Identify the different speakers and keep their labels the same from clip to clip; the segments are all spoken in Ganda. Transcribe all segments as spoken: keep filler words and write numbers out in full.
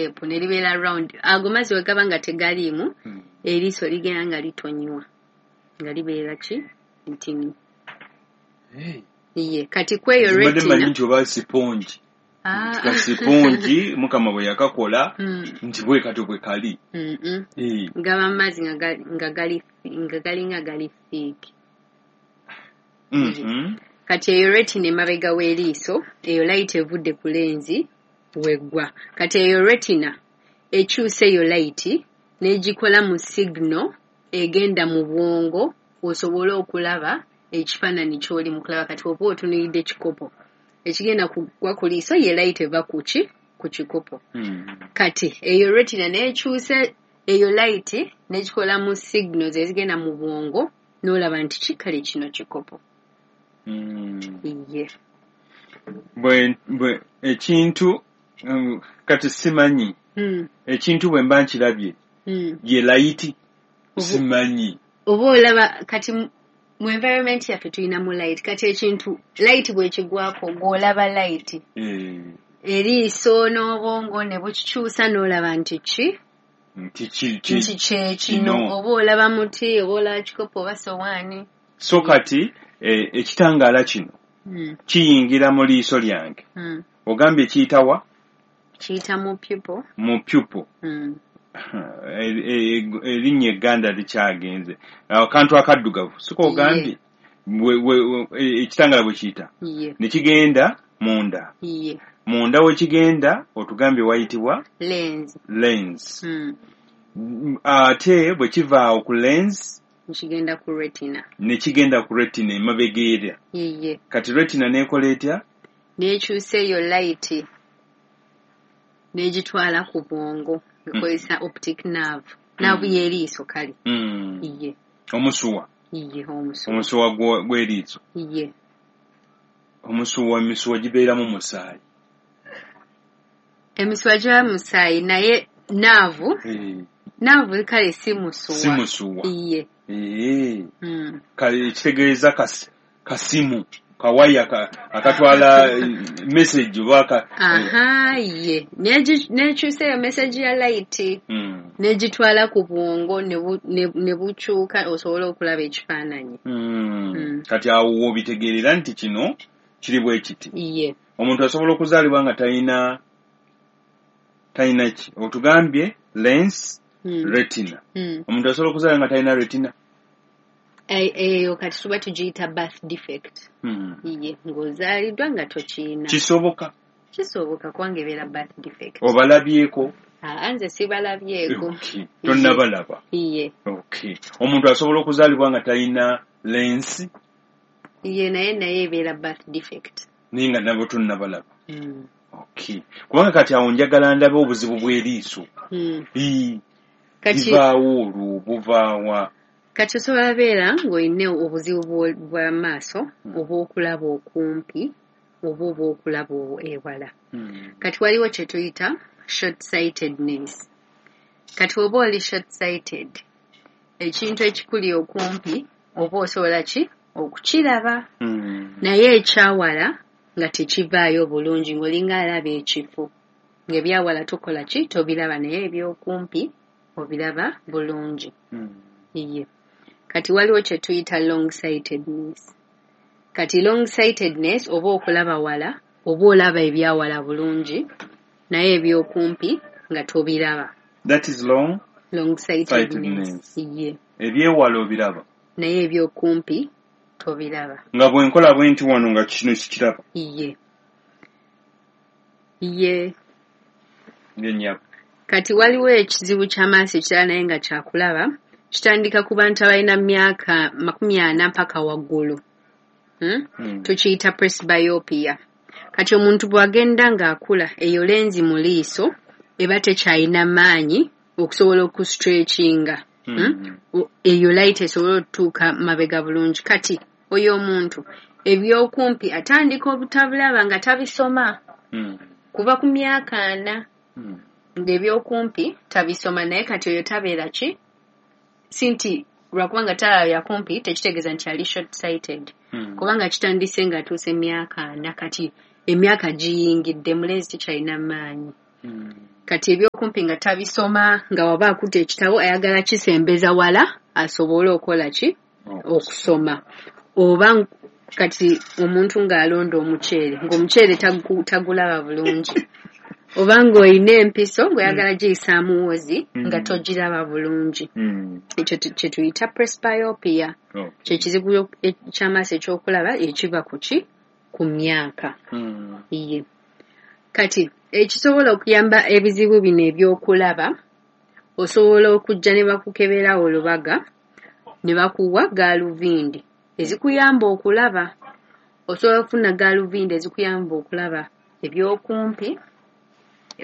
Speaker 1: Shape ne libeera round. Ago mazzi we gaba nga tegaliimu,
Speaker 2: Mm.
Speaker 1: eriiso ligenda nga litonywa, nga libeera ki ntini.
Speaker 2: Hey.
Speaker 1: Ye kati kweyo
Speaker 2: Mbadde mmanyi
Speaker 1: retina
Speaker 2: nti oba sipongi,
Speaker 1: Ah.
Speaker 2: ka sipongi Mukama bwe yakakola
Speaker 1: Mm.
Speaker 2: nti bwe katyo bwe kali.
Speaker 1: Mm-mm.
Speaker 2: Eh.
Speaker 1: Gaba mazzi nga gali- nga gali nga galinga gali thick.
Speaker 2: Mhm.
Speaker 1: Kati eyo retina emabega w'eriiso, eyo light evudde ku lens weggwa. Kati eyo retina ekyusa eyo light n'egikola mu signal egenda mu bwongo osobole okulaba ekifaananyi ky'oli mu kulaba. Kati oba otunuulidde kikopo, ekigenda kugwa ku liiso ye light eva ku ki ku kikopo.
Speaker 2: Mm.
Speaker 1: Kati eyo retina n'ekyusa eyo light n'egikola mu signals ezigenda mu bwongo, n'olaba nti ki kale kino kikopo.
Speaker 2: Mm.
Speaker 1: Ye.
Speaker 2: Bwe bwe ekintu um, kati simanyi,
Speaker 1: Mm.
Speaker 2: ekintu bwe mba nkirabye,
Speaker 1: Mm.
Speaker 2: ye light,
Speaker 1: Obu-
Speaker 2: simanyi.
Speaker 1: Oba olaba kati mu- mu environment yaffe tulinamu light. Kati ekintu light bw'ekigwako, gw'olaba light,
Speaker 2: Eh,
Speaker 1: eriiso n'obwongo ne bukikyusa n'olaba nti ki
Speaker 2: nti ki ki
Speaker 1: nti kyekino.
Speaker 2: Kino.
Speaker 1: Oba olaba muti, oba olaba kikopo oba sowaani.
Speaker 2: So kati eh, ekitangaala kino
Speaker 1: Mm.
Speaker 2: kiyingira mu liiso lyange.
Speaker 1: Mm.
Speaker 2: Ogambye kiyitawa?
Speaker 1: Kiyita mu pupil.
Speaker 2: Mu pupil.
Speaker 1: Mm.
Speaker 2: E- e- erinnya egganda likyagenze, akantu akaddugavu, siko ogambye? We- we- we- e- ekitangaala bwe kiyita
Speaker 1: Ye.
Speaker 2: ne kigenda munda.
Speaker 1: Ye.
Speaker 2: Munda we kigenda otugambye wayitibwa?
Speaker 1: Lens.
Speaker 2: Lens.
Speaker 1: Mm.
Speaker 2: Mm, ate bwe kiva awo ku lens,
Speaker 1: Kigenda ku retina.
Speaker 2: Ne kigenda ku retina emabega erya.
Speaker 1: Ye.
Speaker 2: Kati retina n'ekola etya?
Speaker 1: N'ekyusa eyo light n'egitwala ku bwongo ekozesa optic nerve, nerve
Speaker 2: Mm.
Speaker 1: y'eriiso kale.
Speaker 2: Mm.
Speaker 1: Ye.
Speaker 2: Omusuwa.
Speaker 1: Ye, omusuwa.
Speaker 2: Omusuwa gwo- gw'eriiso.
Speaker 1: Ye.
Speaker 2: Omusuwa, emisuwa gibeeramu musaayi?
Speaker 1: Emisuwa giba musaayi, naye nerve,
Speaker 2: Eh,
Speaker 1: nerve kale si musuwa.
Speaker 2: Si musuwa.
Speaker 1: Ye.
Speaker 2: Eh.
Speaker 1: Mm.
Speaker 2: Kale ekitegeeza kas- kasimu kawaya ka, akatwala eh, message oba ka,
Speaker 1: Aha, ye. N'egi- n'ekyusa eyo message ya light
Speaker 2: mm.
Speaker 1: n'egitwala ku bwongo ne bu- ne- ne bukyuka osobole okulaba ekifaananyi.
Speaker 2: Mm.
Speaker 1: Mm.
Speaker 2: Kati awo w'obitegeerera nti kino kiri bwe kiti.
Speaker 1: Ye.
Speaker 2: Omuntu asobola okuzaalibwa nga talina talina ki? Otugambye lens,
Speaker 1: Mm.
Speaker 2: retina.
Speaker 1: Mm.
Speaker 2: Omuntu asobola okuzaalibwa nga talina retina?
Speaker 1: E- eyo kati tuba tugiyita birth defect.
Speaker 2: mm.
Speaker 1: Ye, ng'ozaaliddwa nga tokiina.
Speaker 2: Kisoboka?
Speaker 1: Kisoboka, kubanga ebeera birth defect.
Speaker 2: Obalabyeko?
Speaker 1: Aa, nze sibalabyeko.
Speaker 2: Okay. Tonnabalaba?
Speaker 1: Ye.
Speaker 2: Okay. Omuntu asobola okuzaalibwa nga talina lens?
Speaker 1: Ye, naye naye ebeera birth defect.
Speaker 2: Naye nga nabo tonnabalaba?
Speaker 1: Mm.
Speaker 2: Okay, kubanga kati awo njagala ndabe obuzibu bw'eriiso.
Speaker 1: Mm.
Speaker 2: Ii,
Speaker 1: Kati
Speaker 2: livaawo olwo buvaawa?
Speaker 1: Kati osobola beera ng'olina obuzibu bw'o- bw'amaaso, oba okulaba okumpi oba obw'okulaba ewala.
Speaker 2: Mm.
Speaker 1: Kati waliwo kye tuyita short sightedness. Kati oba oli short sighted, ekintu ekikuli okumpi oba osobola ki okukiraba,
Speaker 2: Mm.
Speaker 1: naye ekyawala nga tekivaayo bulungi, ng'olinga alaba ekifo, ng'ebyawala tokola ki tobiraba, naye ebyokumpi obiraba bulungi.
Speaker 2: Mm.
Speaker 1: Ye. Kati waliwo kye tuyita long sightedness. Kati long sightedness, oba okulaba wala, oba olaba ebyawala bulungi, naye ebyokumpi nga tobiraba.
Speaker 2: That is long
Speaker 1: Long sightedness.
Speaker 2: sightedness.
Speaker 1: Ye.
Speaker 2: Ebyewala obiraba,
Speaker 1: naye ebyokumpi tobiraba.
Speaker 2: Nga bwenkola bwe nti wano nga kino sikiraba.
Speaker 1: Ye, ye.
Speaker 2: Ngenyabo.
Speaker 1: Kati waliwo ekizibu ky'amaaso ekirala, naye nga kyakulaba, kitandika ku bantu abalina myaka makumi ana mpaka waggulu, hmm?
Speaker 2: Mm.
Speaker 1: Tukiyita presbyopia. Kati omuntu bw'agenda ng'akula, eyo lens mu liiso eba tekyalina maanyi okusobola okustretchinga, hmm?
Speaker 2: Mm.
Speaker 1: O- eyo light esobole okutuuka mabega bulungi. Kati oyo omuntu ebyokumpi atandika obutabulaba nga tabisoma
Speaker 2: Mm.
Speaker 1: kuva ku myaka ana,
Speaker 2: Mm.
Speaker 1: ng'ebyokumpi tabisoma. Naye kati oyo tabeera ki si nti lwakubanga talaba byakumpi tekitegeeza nti ali short sighted,
Speaker 2: Mm.
Speaker 1: kubanga kitandise ng'atuuse emyaka ana. Kati emyaka giyingidde, mu lens tekyalina maanyi.
Speaker 2: Mm.
Speaker 1: Kati ebyokumpi nga tabisoma, nga waba akutte ekitabo ayagala kisembeza wala asobole okukola ki? Okusoma. Oba kati omuntu ng'alonda omuceere, ng'omuceere tagulaba bulungi. Oba ng'olina empiso ng'oyagala giyisaamu wozi nga togiraba bulungi. Ekyo kye tuyita presbyopia. Kye kizibu ky'amaaso ekyokulaba ekiva ku ki? Ku myaka. Iye. Kati ekisobola okuyamba ebizibu bino ebyokulaba, osobola okujja ne bakukebera olubaga ne bakuwa gaaluvindi ezikuyamba okulaba. Osobola okufuna gaaluvindi ezikuyamba okulaba ebyokumpi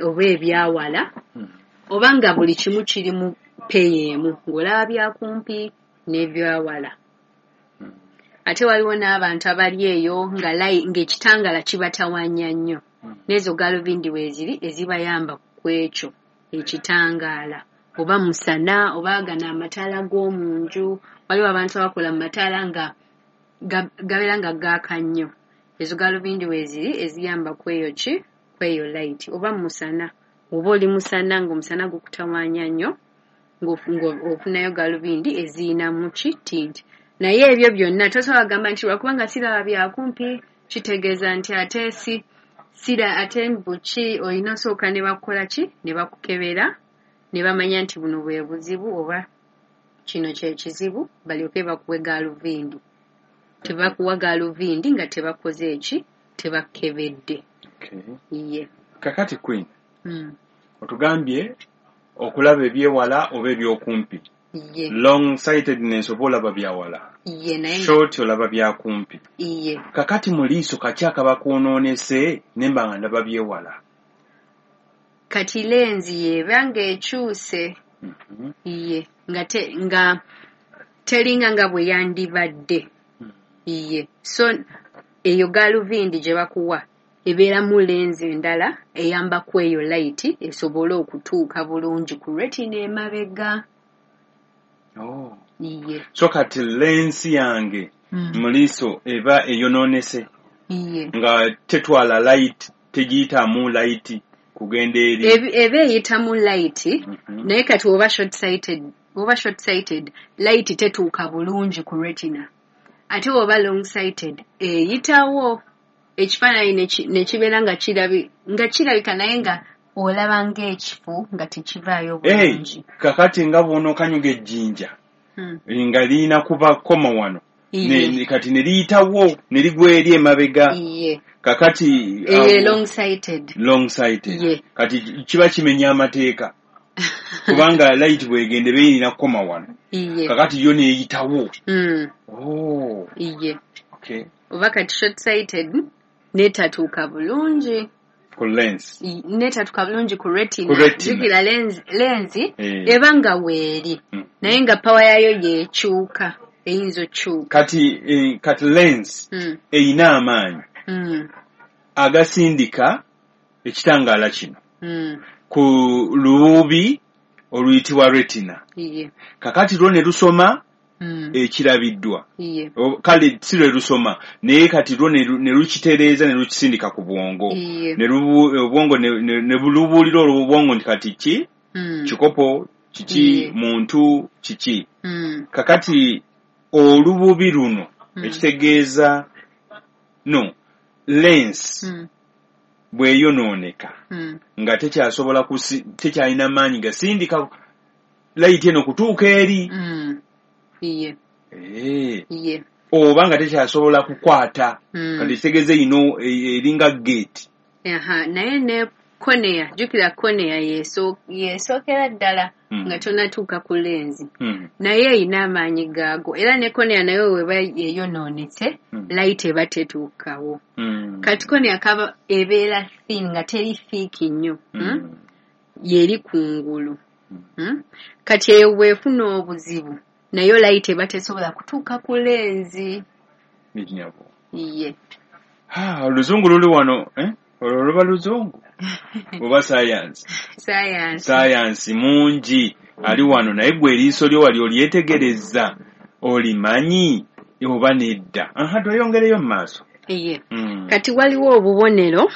Speaker 1: oba ebyawala, oba nga buli kimu kiri mu peyi emu, ng'olaba byakumpi n'ebyawala. Ate waliwo n'abantu abali eyo nga ng'ekitangala kibatawaanya nnyo. N'ezo gaaluvindi weeziri ezibayamba ku ekyo ekitangaala, oba musana, oba gano amataala g'omu nju. Waliwo abantu abakola mu mataala nga gabeera nga gaaka nnyo. Ezo gaaluvindi weeziri eziyamba ku eyo ki? Ku eyo light. Oba musana, oba oli musana ng'omusana gukutawaanya nnyo, ng'ofunayo gaaluvindi eziyinamu ki? Tint. Naye ebyo byonna tosobola kugamba nti lwakubanga siraba byakumpi kitegeeza nti ate si sira ate mbuki. Olina osooka ne bakukola ki? Ne bakukebera ne bamanya nti buno bwe buzibu oba kino kye kizibu, balyoke bakuwe gaaluvindi. Tebakuwa gaaluvindi nga tebakoze eki? Tebakebedde. Iye.
Speaker 2: Kakati Queen, otugambye okulaba ebyewala oba ebyokumpi.
Speaker 1: Iye.
Speaker 2: Long sightedness oba olaba byawala.
Speaker 1: Iye, naye
Speaker 2: short olaba byakumpi.
Speaker 1: Iye.
Speaker 2: Kakati mu liiso kaki akaba kwonoonese ne mba nga ndaba byewala?
Speaker 1: Kati lenzi y'eba ng'ekyuse. Iye. Nga te, nga teringa nga bwe yandibadde. Iye. So eyo gaaluvindi gye bakuwa ebeeramu lenzi endala eyamba ku eyo light esobole okutuuka bulungi ku retina emabega.
Speaker 2: Oh.
Speaker 1: Iye.
Speaker 2: So kati lensi yange mu liiso eba eyonoonese.
Speaker 1: Iye.
Speaker 2: Nga tetwala light, tegiyitamu light kugenda eri.
Speaker 1: Eba eyitamu light, naye kati oba short sighted, oba short sighted, light tetuuka bulungi ku retina. Ate oba long sighted, eyitawo ekifaananyi ne kibeera nga kirabi nga kirabika naye nga olaba ng'ekifo nga tekivaayo bulungi.
Speaker 2: Kakati nga bw'onookanyuga ejjinja nga lirina kuba koma wano, kati ne liyitawo ne ligwa eri emabega. Kakati
Speaker 1: long sighted.
Speaker 2: Long sighted. Kati kiba kimenya amateeka kubanga light bw'egenda eba erina kukoma wano. Kakati yo n'eyitawo. Oh.
Speaker 1: Iye.
Speaker 2: Okay.
Speaker 1: Oba kati short sighted n'etatuuka bulungi
Speaker 2: ku lens.
Speaker 1: N'etatuuka bulungi ku retina. Jjukira lenzi, lenzi eba nga weeri naye nga power yaayo yeekyuka, eyinza okukyuka.
Speaker 2: Kati kati lens eyina amaanyi agasindika ekitangaala kino ku lububi oluyitibwa retina. Kakati lwo ne lusoma ekirabiddwa. Kale si lwe lusoma naye kati lwo ne lukitereeza ne lukisindika ku bwongo. Ne obwongo ne lubuulira olwo obwongo nti kati ki? Kikopo, kiki, muntu, kiki. Kakati olububi luno ekitegeeza no lens bw'eyonooneka nga tekyasobola tekyalina maanyi gasindika light eno kutuuka eri.
Speaker 1: Iye. Iye.
Speaker 2: Oba nga tekyasobola kukwata. Kati kitegeeza ino eringa gate.
Speaker 1: Aha, naye ne cornea, jjukira cornea yeesookera ddala nga tonnatuuka ku lenzi. Naye eyina amaanyi gaago. Era ne cornea nayo weba eyonoonese, light eba tetuukawo. Kati cornea kaba ebeera thin nga teri thick nnyo. Yeri kungulu. Kati eyo bw'efuna obuzibu nayo light eba tesobola kutuuka ku lenzi. Iye.
Speaker 2: Ha, oluzungu luli wano, eh? Olwo luba luzungu oba science?
Speaker 1: Science.
Speaker 2: Science mungi ali wano, naye gwe eriiso lyo wali olyetegereza olimanyi oba nedda. Aha, tweyongereyo mu maaso.
Speaker 1: Iye. Kati waliwo obubonero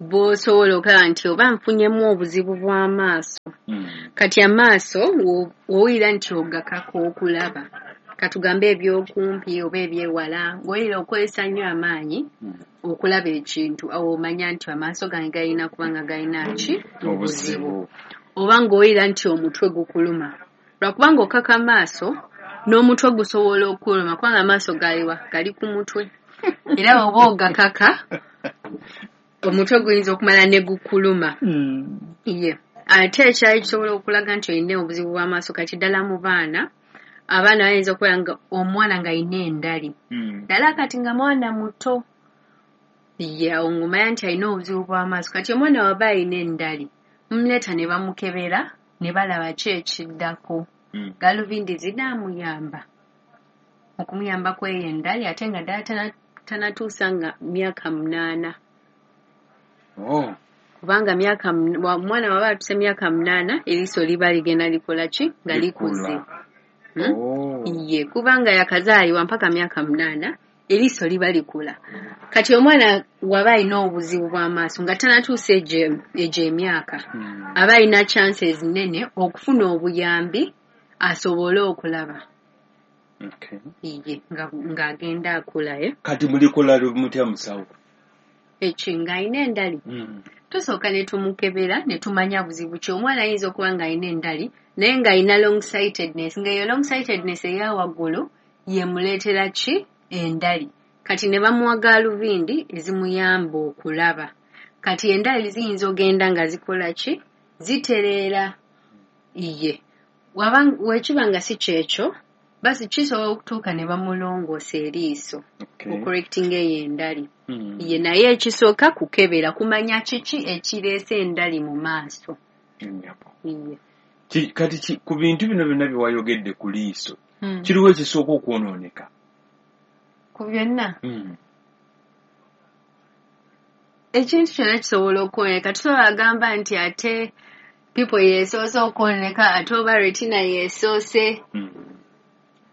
Speaker 1: bw'osobola okulaba nti oba nfunyemu obuzibu bw'amaaso.
Speaker 2: Mm.
Speaker 1: Kati amaaso wo- w'owulira nti ogakaka okulaba, katugambe ebyokumpi oba ebyewala, ng'owulira okozesa nnyo amaanyi
Speaker 2: Mm.
Speaker 1: okulaba ekintu, awo omanya nti amaaso gange galina kuba nga galina ki?
Speaker 2: Obuzibu.
Speaker 1: Oba ng'owulira nti omutwe gukuluma, lwakubanga okaka amaaso n'omutwe gusobola okuluma, kubanga amaaso galiwa? Gali ku mutwe, era oba ogakaka omutwe guyinza okumala ne gukuluma.
Speaker 2: Mm.
Speaker 1: Ye ate ekyali kisobola okulaga nti olina obuzibu bw'amaaso, kati ddala mu baana, abaana bayinza okubeera nga omwana ng'alina endali,
Speaker 2: Mm.
Speaker 1: ddala kati nga mwana muto, ye awo ng'omanya nti alina obuzibu bw'amaaso. Kati omwana waba alina endali, mumuleeta ne bamukebera ne balaba ki ekiddako.
Speaker 2: Mm.
Speaker 1: Galuvindi zinaamuyamba okumuyambako eyo endali, ate nga ddala tana- tanatuusa nga myaka munaana.
Speaker 2: Oh.
Speaker 1: Kubanga myaka mun- wa- omwana waba atuuse myaka munaana, eriiso liba ligenda likola ki? Nga likuze.
Speaker 2: Likula.
Speaker 1: Hmm?
Speaker 2: Oh.
Speaker 1: Ye kubanga yakazaalibwa mpaka myaka munaana eriiso liba likula. Kati omwana waba alina obuzibu bw'amaaso nga tanatuusa egyo egyo emyaka,
Speaker 2: Mm.
Speaker 1: aba alina chances nnene okufuna obuyambi asobole okulaba.
Speaker 2: Okay.
Speaker 1: Ye nga- ng'agenda akula, eh?
Speaker 2: Kati mulikola mutya musawo?
Speaker 1: Eki ng'alina endali,
Speaker 2: Mm.
Speaker 1: tusooka ne tumukebera ne tumanya buzibu ki. Omwana ayinza okuba ng'alina endali naye ng'alina long sightedness, ng'eyo long sightedness eya waggulu yemuleetera ki? Endali. Kati ne bamuwa gaaluvindi ezimuyamba okulaba. Kati endali ziyinza ogenda nga zikola ki? Zitereera. Ye waba wekiba nga si kyekyo, basi kisobola okutuuka ne bamulongoosa eriiso,
Speaker 2: Okay.
Speaker 1: okucorrectinga eyo endali.
Speaker 2: Mm.
Speaker 1: Ye naye ekisooka kukebera kumanya kiki ekireese endali mu maaso.
Speaker 2: Nnyabo.
Speaker 1: Ye.
Speaker 2: Ki- kati ki- ku bintu bino byonna bye wayogedde ku liiso,
Speaker 1: Hmm.
Speaker 2: kiriwo ekisooka okwonooneka?
Speaker 1: Ku byonna,
Speaker 2: Mm.
Speaker 1: ekintu kyonna kisobola okwonooneka. Tusobola agamba nti ate people yeesoose okwonooneka, ate oba retina yeesoose.
Speaker 2: Mm.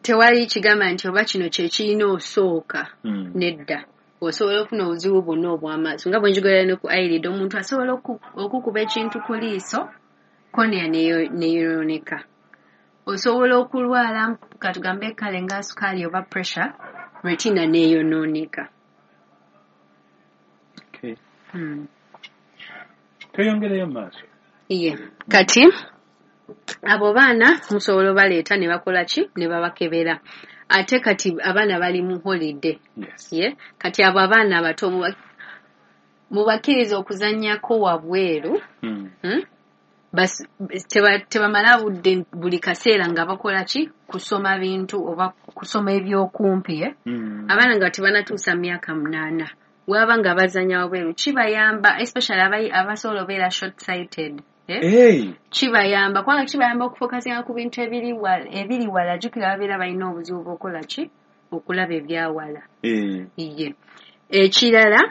Speaker 1: Tewali kigamba nti oba kino kye kirina osooka.
Speaker 2: Mm.
Speaker 1: Nedda, osobola okufuna obuzibu bwonna obw'amaaso nga bwe njogera ne ku eyelid, omuntu asobola oku- okukuba ekintu ku liiso, cornea neyo- neyonooneka. Osobola okulwala katugambe kale nga sukaali oba pressure, retina neeyonooneka.
Speaker 2: Okay.
Speaker 1: Hmm.
Speaker 2: Tweyongereyo mu maaso.
Speaker 1: Ye kati abo baana musobola obaleeta ne bakola ki? Ne babakebera. Ate kati abaana bali mu holiday.
Speaker 2: Yes.
Speaker 1: Ye kati abo abaana abato muba- mubakkiriza okuzannyako wabweru.
Speaker 2: Mm.
Speaker 1: Hmm? Bas- teba- tebamala budde buli kaseera nga bakola ki? Kusoma bintu oba kusoma ebyokumpi, eh?
Speaker 2: Mm.
Speaker 1: Abaana nga tebanatuusa myaka munaana, waba nga bazannya wabweru kibayamba, especially abayi- abasobola obeera short sighted, eh?
Speaker 2: Hey.
Speaker 1: Kibayamba kubanga kibayamba okufokasinga ku bintu ebiri wala, ebiri wala. Jjukira babeera balina obuzibu bw'okukola ki? Okulaba ebyawala.
Speaker 2: Eh.
Speaker 1: Ye ekirala,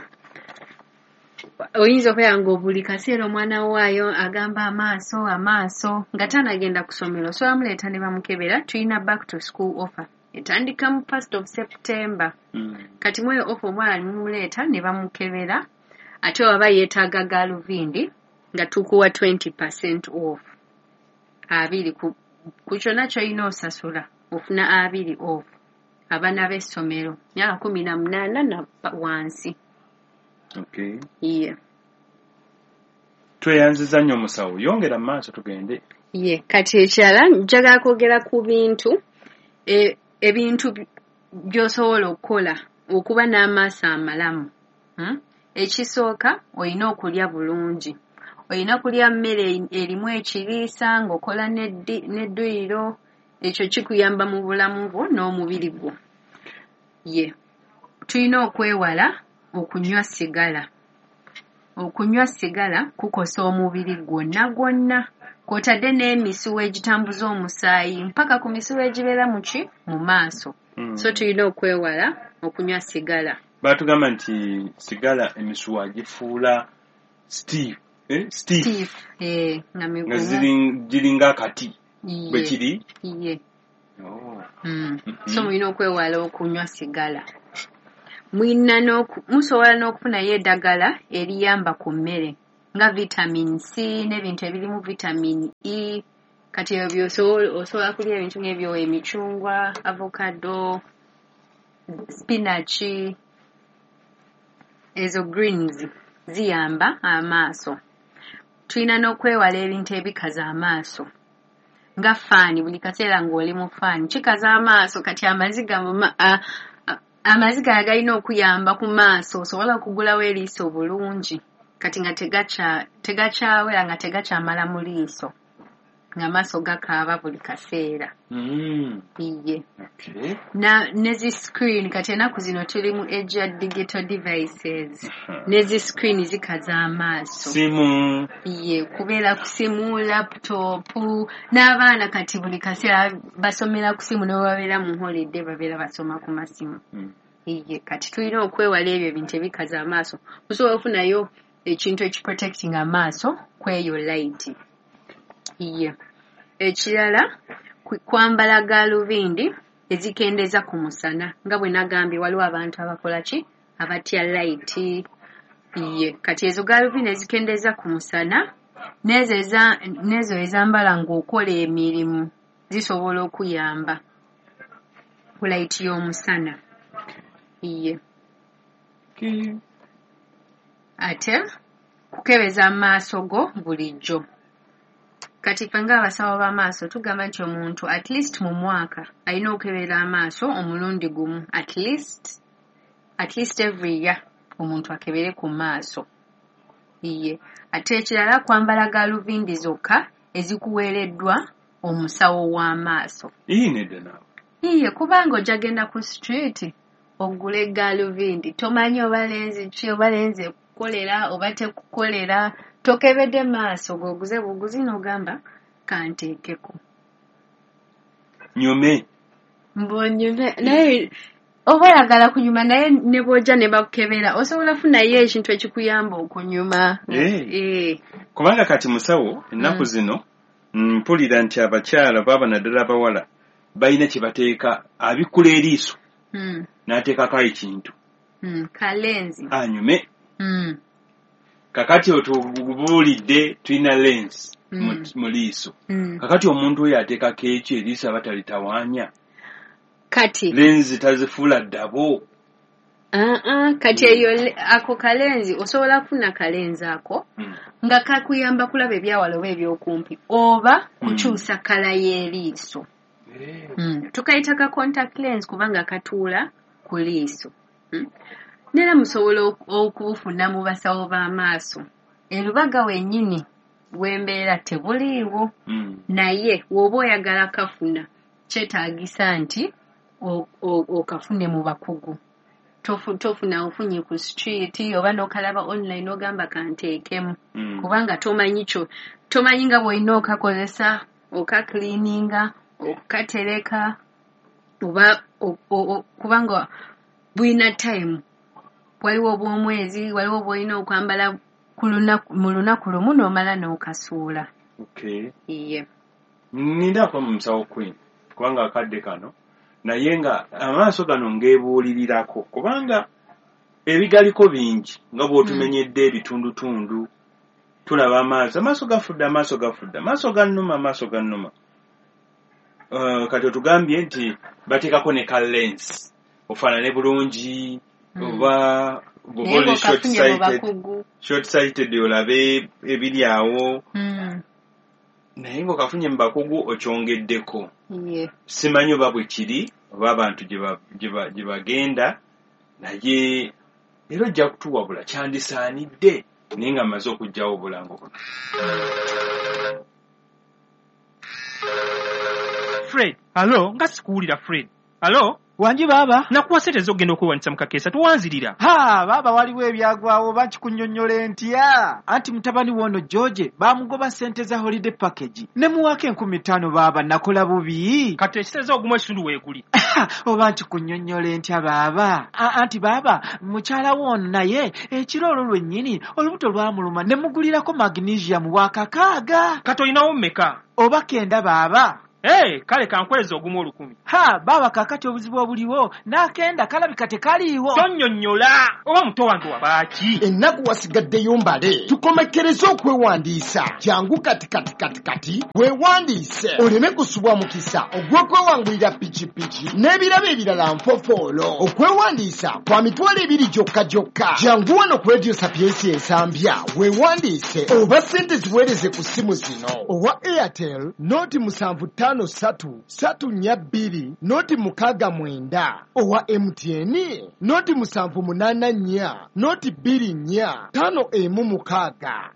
Speaker 1: oyinza okubeera nga buli kaseera omwana waayo agamba amaaso amaaso nga tanagenda ku ssomero, osobola muleeta ne bamukebera. Tulina back to school offer etandika mu first of September.
Speaker 2: Mm.
Speaker 1: Kati mweyo offer omwana mumuleeta ne bamukebera, ate waba yeetaaga galuvindi nga tukuwa twenty percent off, abiri ku, ku kyonna ky'olina osasula ofuna abiri off, abaana b'essomero myaka kumi na munaana na wansi.
Speaker 2: Okay.
Speaker 1: Ye.
Speaker 2: Tweyanziza nnyo musawo, yongera mu maaso tugende.
Speaker 1: Ye kati ekirala njagala kwogera ku bintu e, ebintu by- by'osobola okukola okuba n'amaaso amalamu, hmm? Ekisooka, olina okulya bulungi, olina kulya mmere erimu ekiriisa ng'okola n'eddi- n'edduyiro. Ekyo kikuyamba mu bulamu bwo n'omubiri gwo. Ye tulina okwewala okunywa sigala. Okunywa sigala kukosa omubiri gwonna gwonna, kw'otadde n'emisuwa egitambuza omusaayi mpaka ku misuwa egibeera mu ki? Mu maaso.
Speaker 2: Mm.
Speaker 1: So tulina okwewala okunywa sigala.
Speaker 2: Batugamba nti sigala emisuwa gifuula stiff, eh? Stiff.
Speaker 1: Stiff, eh, nga
Speaker 2: nga
Speaker 1: migumu.
Speaker 2: ziri- giringa akati
Speaker 1: Ye,
Speaker 2: bwe kiri.
Speaker 1: Ye.
Speaker 2: Oh.
Speaker 1: Mm.
Speaker 2: Mhm.
Speaker 1: So mulina okwewala okunywa sigala. Mulina musobola n'okufunayo eddagala eriyamba ku mmere nga vitamin C n'ebintu ebirimu vitamin E. Kati ebyo osobola kulya ebintu ng'ebyo, emicungwa, avocado, spinach, ezo greens ziyamba amaaso. Tulina n'okwewala ebintu ebikaza amaaso nga faani. Buli kaseera ng'oli mu faani kikaza amaaso. Kati amaziga amaziga agalina okuyamba ku maaso osobola okugulawo eriiso bulungi, kati nga tegakyawera, nga tegakyamala mu liiso, ng'amaaso gakaaba buli kaseera. Iye ne zi screen, kati ennaku zino tuli mu age ya digital devices, ne zi screen zikaza amaaso.
Speaker 2: Simu.
Speaker 1: Iye, kubeera ku simu, laptop, n'abaana kati buli kaseera basomera ku simu, ne babeera mu holiday babeera basoma ku masimu. Iye, kati tulina okwewala ebyo ebintu ebikaza amaaso. Osobola okufunayo ekintu ekiprotecting amaaso kweyo light. Iye. Ekirala, kwambala gaalubindi ezikendeeza ku musana. Nga bwe nagambye, waliwo abantu abakola ki, abatya light. Iye, kati ezo gaalubindi ezikendeeza ku musana n'ezo ezambala ng'okola emirimu zisobola okuyamba ku light y'omusana. Iye. Ate kukebeza amaaso go bulijjo. Kati ffe ng'abasawo b'amaaso tugamba nti omuntu at least mu mwaka alina okukebera amaaso omulundi gumu, at least at least every year omuntu akebere ku maaso. Iye. Ate ekirala, kwambala gaalubindi zokka ezikuweereddwa omusawo w'amaaso.
Speaker 2: Ii, nedda naawe.
Speaker 1: Iye, kubanga ojja genda ku street ogule gaalubindi, tomanyi oba lenzi ki, oba lenzi ekukolera oba tekukolera, tokebedde maaso, g'oguze buguzi n'ogamba kanteekeko.
Speaker 2: Nyume.
Speaker 1: Mbonyume, naye oba oyagala kunyuma, naye ne bw'ojja ne bakukebera osobola funayo ekintu ekikuyamba okunyuma.
Speaker 2: Eh. Kubanga kati musawo, ennaku zino mpulira nti abakyala baba naddala abawala balina kye bateeka abikkula eriiso n'ateekako ekintu.
Speaker 1: Kalenzi.
Speaker 2: Anyume. Kakati otubuulidde tulina lens mu liiso. Kakati omuntu oyo ateekako eki eriiso aba talitawaanya?
Speaker 1: Kati
Speaker 2: lenzi tazifuula ddabo.
Speaker 1: Kati eyo ako kalenzi osobola kufuna kalenzi ako nga kakuyamba kulaba ebyawala oba ebyokumpi oba kukyusa kala y'eriiso. Tukayita ka contact lens kubanga katuula ku liiso. Nera musobola okubufuna mu basawo b'amaaso. Erubaga wennyini w'embeera tebuliiwo, naye w'oba oyagala kafuna kyetaagisa nti okafune mu bakugu. Tofuna ofunye ku street oba n'okalaba online ogamba kanteekemu, kubanga tomanyi kyo, tomanyi nga bw'olina okakozesa, okacleaninga, okatereka, oba kubanga bulina time. Waliwo obw'omwezi, waliwo bw'olina okwambala mu lunaku lumu n'omala n'okasuula.
Speaker 2: Okay.
Speaker 1: Iye.
Speaker 2: Nnindaako mu musawo Queen kubanga akadde kano, naye nga amaaso gano ngeebuulirirako kubanga ebigaliko bingi nga bw'otumenyedde ebitundutundu. Tulaba amaaso, amaaso gafudde, amaaso gafudde, amaaso gannuma, amaaso gannuma. Uh, kati otugambye nti bateekako ne ka lens ofaanane bulungi, oba bw'oba oli short sighted, short sighted olabe ebiri awo, naye ng'okafunye mu bakugu okyongeddeko. Simanyi oba bwe kiri oba abantu gye bagenda, naye era ojja kutuwabula kyandisaanidde, naye nga mmaze okuggyawo obulango buno.
Speaker 3: Fred, alo, nga sikuwulira Fred. Alo?
Speaker 4: Wangi baaba.
Speaker 3: Nakuwa ssente ez'okugenda okwewandiisa mu kakeesa, towanzirira.
Speaker 4: Ha, baaba waliwo ebyagwawo oba nkikunnyonnyola ntya? Anti mutabani w'ono George baamugoba ssente za holiday package. Ne muwaako enkumi ttaano baaba, nakola bubi.
Speaker 3: Kati ekitegeeza ogumu ekitundu weeguli.
Speaker 4: Oba nkikunnyonnyola ntya baaba? Anti baaba, mukyala w'ono naye ekiro olwo lwennyini olubuto lwamuluma ne mugulirako magnesium wa kakaaga.
Speaker 3: Kati olinawo mmeka?
Speaker 4: Oba kenda baaba.
Speaker 3: Hey, kale kankweza ogumu olukumi.
Speaker 4: Ha, baaba kaakati obuzibu obuliwo n'akenda kalabika tekaliiwo.
Speaker 3: Tonnyonnyola oba muto wange wabaaki.
Speaker 5: Ennaku wasigaddeyo mbale, tukomekkereze okwewandiisa. Jangu kati kati kati kati weewandiise oleme kusubwa mukisa ogw'okwewangulira pikipiki n'ebirabo ebirala nfofoolo. Okwewandiisa kwa mitwalo ebiri gyokka gyokka. Jangu wano ku Radio Sapiensia Ensambya weewandiise oba ssente ziweereze ku ssimu zino: owa Airtel noti musanvu ttaano ssatu ssatu nnya bbiri noti mukaaga mwenda, owa M T N noti musanvu munaana nnya noti bbiri nnya ttaano emu mukaaga.